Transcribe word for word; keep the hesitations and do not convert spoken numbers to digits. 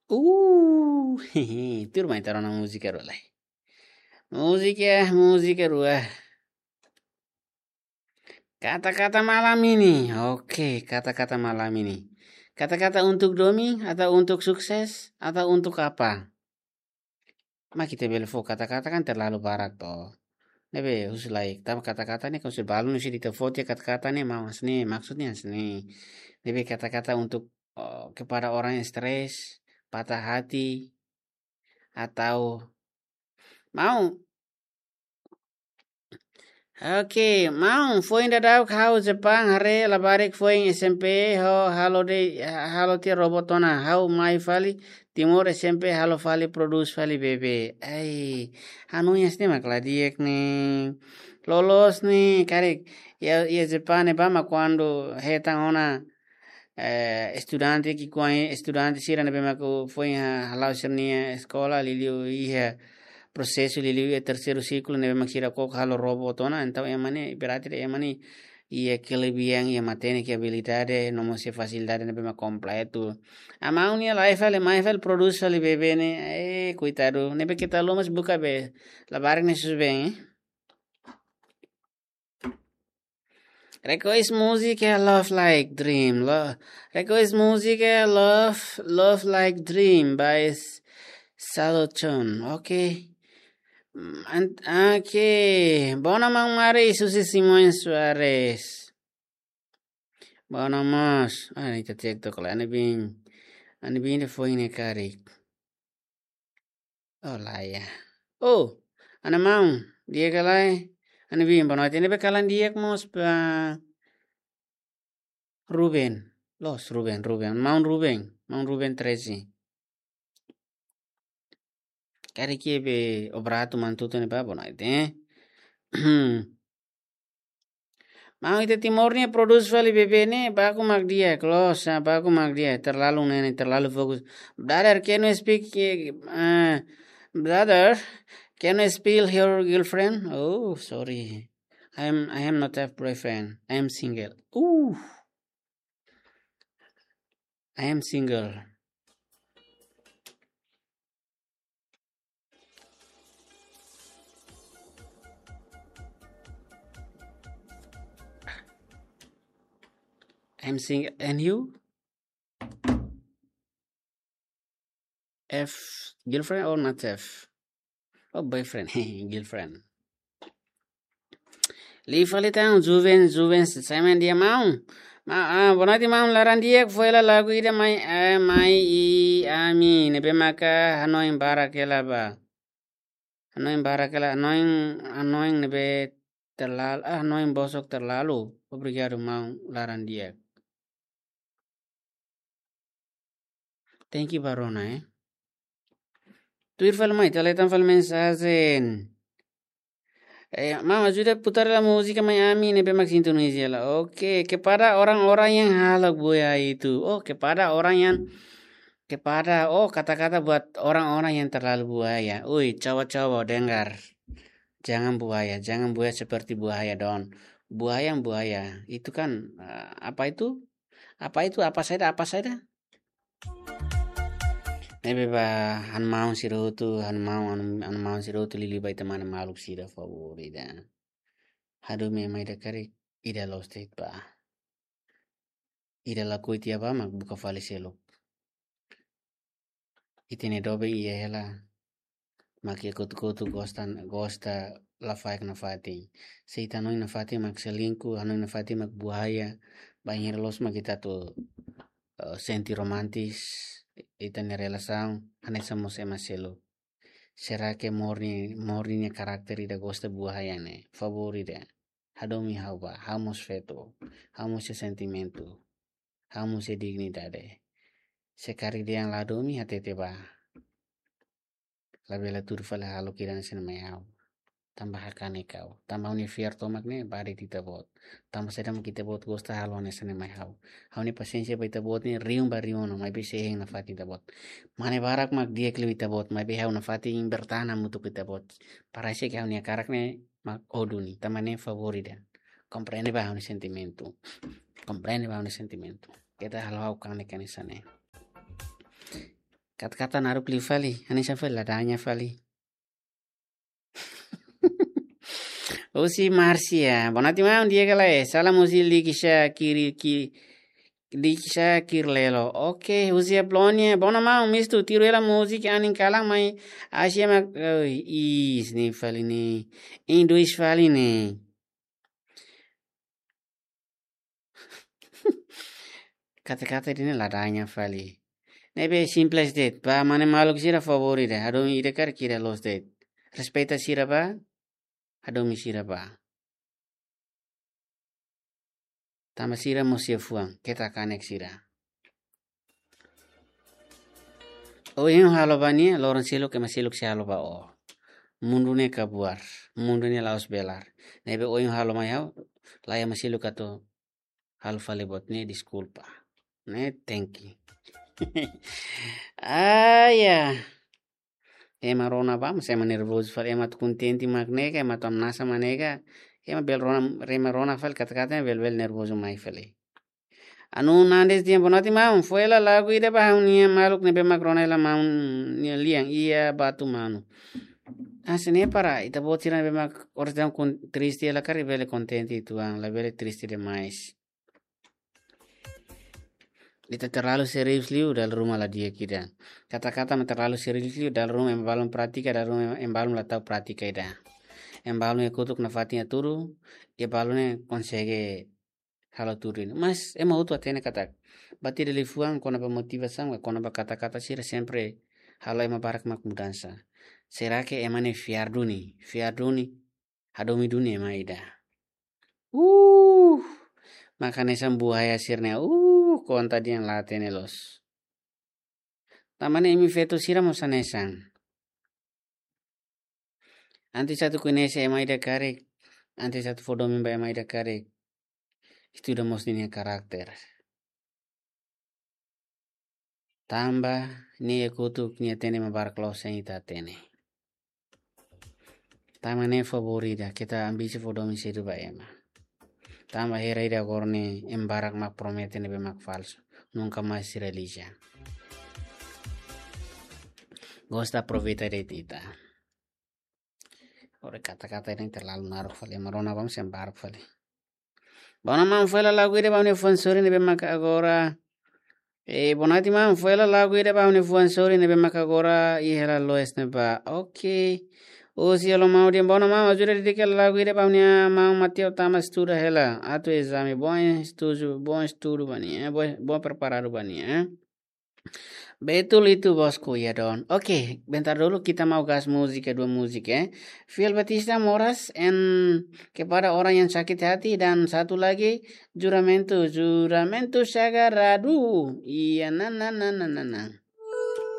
Uh, tuir mai ita rona múzika rua lai. Múzika, múzika rua. Kata-kata malam ini. Oke, kata-kata malam ini. Kata-kata untuk domin atau untuk sukses atau untuk apa? Mak ita bele fó kata-kata kan terlalu barak to. Ne'ebé husu lai, tanba kata-kata ne'e, kalau se balu ne'e se ita fó tiha kata-kata ne'e, maun hanesan ne'e, maksudnya hanesan ne'e. Ne'ebé kata-kata untuk, eh, kepada orang yang stres, patah hati, atau maun. Oke, maun, foin daudauk ha'u Jepang haree labarik foin S M P ho halo de'it, halo tiha robot ona, ha'u mai fali Timor S M P halo fali produs fali bebé. Ai, hanoin hanesan ne'e mak la di'ak ne'e. Loloos ne'e, karik, iha, iha Jepang ne'ebá mak kuandu hetan ona, eh, estudante ki'ikoan, estudante sira ne'ebé mak foin ha-, hala'o sira-nia eskola, liuliu iha prosesu, liuliu iha terseiru siklu ne'ebé mak sira koko halo robot ona, entaun ema ne'e, berarti ema ne'e iha kelebihan, iha matenek, iha abilidade, no mós iha fasilidade ne'ebé mak kompletu. Maun nia la iha fali, mai fali produs fali bebé ne'e, eh, koitadu, ne'ebé keta lomos buka be, labarik ne'e susubeen, eh. Request múzika Love Like Dream. Lo-, request múzika Love, Love Like Dream by S-, Salochon. Oke. Mm, an-, oke. Boa noite, maun Mari, Susi Simões Soares. Boa noite, maun. Ah, ita cek tok lai, Ana Bin. Ana Bin depois ne'e karik. Oh, lae. Oh, ha'u-nia maun, di'ak ka lae? Ha'u-nia biin, boa noite. Ne'ebé kalan di'ak mós ba Ruben. Loos, Ruben, Ruben. Maun Ruben, maun Ruben treze. Karik iha be obratu mantutu ne'ebá, boa noite, eh? Maun, ita Timor nia produs fali bebé ne'e, baku mak di'ak, loos, ah, baku mak di'ak, terlalu ne'e, terlalu fokus. Brother, can you speak, eh, eh, brother, can you spell your girlfriend? Oh, sorry. I am, I am not have boyfriend. I am single. Ooh. I am single. I'm single. And you? Have girlfriend or not have? Oh, boyfriend. Girlfriend. Liu fali tan, joven, joven, sai mai di'ak maun. Ma, ah, boa noite maun, laran di'ak, foin hela lagu ida mai, eh, mai iha ami, ne'ebé maka hanoin barak hela ba. Hanoin barak hela, hanoin, hanoin ne'ebé terlal-, ah, hanoin bosok terlalu. Obrigadu maun, laran di'ak. Thank you, Barona, eh. Tuir fali mai, ita leten fali mensajen. Eh, maun, ajuda putar hela múzika mai ami ne'ebé mak sintonizia hela. Oke, kepada orang-orang yang halak buaya itu. Oh, kepada orang yang, kepada, oh, kata-kata buat orang-orang yang terlalu buaya. Ui, coba-coba dengar. Jangan buaya, jangan buaya seperti buaya, Don. Buaya, buaya. Itu kan, eh, apa itu? Apa itu? Apa saja, apa saja? Ne'ebé ba, ha'u-nia maun sira hotu, ha'u-nia maun, ha'u-nia, ha'u-nia maun sira hotu, liuliu ba ita mane maluk sira, favór ida. Hadomi ema ida karik, ida loos de'it ba. Ida lakohi tiha ba mak buka fali seluk. Ita-nia doben iha hela, mak iha kotuk-kotuk gosta, gosta lafaek nafatin. Se ita hanoin nafatin mak selingkuh, hanoin nafatin mak buaya, bainhira loos mak ita atu, eh, sente romantis ita-nia relasaun, hanesan mós ema seluk. Será que Mori, Mori nia karakter ida gosta buaya ne'e? Favór ida. Hadomi ha'u ba, ha'u mós feto, ha'u mós iha sentimentu, ha'u mós iha dignidade. Se karik dehan la hadomi, hatete ba. Labele tuur fali halo kira hanesan ne'e mai ha'u. Tanba hakanek ha'u. Tanba ha'u-nia fiar tomak ne'e ba de'it ita-boot. Tanba saida mak ita-boot gosta halo hanesan ne'e mai ha'u. Ha'u-nia pasiénsia ba ita-boot ne'e rihun ba rihun ona, maibé sei hein nafatin ita-boot. Mane barak mak di'ak liu ita-boot, maibé ha'u nafatin bertahan hamutuk ho ita-boot. Parese ke ha'u-nia karak ne'e mak ho duni, tanba ne'e favór ida. Komprende ba ha'u-nia sentimentu. Komprende ba ha'u-nia sentimentu. Keta halo ha'u kanek hanesan ne'e. Katak-katak naruk liu fali, hanesan fali, la daña fali. Husi Marcia, boa noite, maun, di'ak ka lae? Salam husi Likisha Kiri, Ki-, Likisha Kirlelo. Oke, husi Apolonia, boa noite, maun, mistu, tiru hela múzika anin kalan mai Asia mak, oi, is, ne'e fali ne'e. Indus fali ne'e. Katak-katak ida-ne'e la daña fali. Ne'ebé simples de'it. Ba mane maluk sira favór ida. Hadomi ida karik ida loos de'it. Respeita sira ba. Hadomi sira ba. Tanba sira mós iha fuan. Keta kanek sira. Ohin halo ba nia, loron seluk ema seluk sei halo ba o. Mundu ne'e kabuar, mundu ne'e la'ós belar. Ne'ebé ohin halo mai ha'u, la iha ema seluk atu halo fali buat ne'e, deskulpa. Ne'e tenke. Ah, ya. Ema rona ba, mas ema nervozu fali, ema atu kontente mak ne'e ka, ema atu hamnasa mak ne'e ka, ema bele rona, ema rona fali katak-katak, bele, bele nervozu mai fali. Anu Nandes dehan, boa noite, maun. Fó hela lagu ida ba ha'u-nia maluk ne'ebé mak rona hela maun nia lian, iha Batu Manu. Ah, se ne'e para ita-boot sira ne'ebé mak oras daudaun kon-, triste hela karik bele kontente uitoan, labele triste demais. Ita terlalu serius liu, dala ruma la di'ak ida. Katak-katak mak terlalu serius liu, dala ruma ema balun pratika, dala ruma ema balun la tau pratika ida. Ema balun iha kotuk nafatin hatudu, ema balun ne'e konsege halo tudu ida. Mas ema hotu hatene katak, buat ida liafuan kona-ba motivasaun, kona-ba katak-katak sira sempre halo ema barak mak mudansa. Será que ema ne'e fiar duni, fiar duni, hadomi duni ema ida? Uh, mak hanesan buaya sira-ne'e, uh, konta dehan la hatene loos. Tanba ne'e imi feto sira mós hanesan. Antes atu koñese ema ida karik, antes atu fó domin ba ema ida karik, estuda mós ninia karakter. Tanba nia iha kotuk nia hatene ema barak loos, ita la hatene. Tanba ne'e favór ida, keta ambisi fó domin sedu ba ema. Tanba hera ida agora ne'e ema barak mak promete ne'ebé mak falsu. Nunka mais se realiza. Gosta aproveita de'it ita. Ora katak-katak ida-ne'e terlalu naruk fali, ema rona ba mós ema baruk fali. Boa noite, maun, fó hela lagu ida ba ha'u-nia fuan sorin ne'ebé mak agora. Eh, boa noite, maun, fó hela lagu ida ba ha'u-nia fuan sorin ne'ebé mak agora iha hela loos ne'ebá. Oke. Husi Alomau dehan, boa noite, maun, ajuda dedika lagu ida ba ha'u-nia maun Mateo tanba estuda hela atu ezame. Bom estudu, bom estudu ba nia, eh, bom, bom preparadu ba nia, eh. Betul itu, bosku, ya, Don. Oke, bentar dulu kita mau gas múzika, dua múzika, eh. Fiel Batista Moras and Kepada Orang Yang Sakit Hati, dan satu lagi, Juramentu, Juramentu Sagradu. Iya, na, na, na.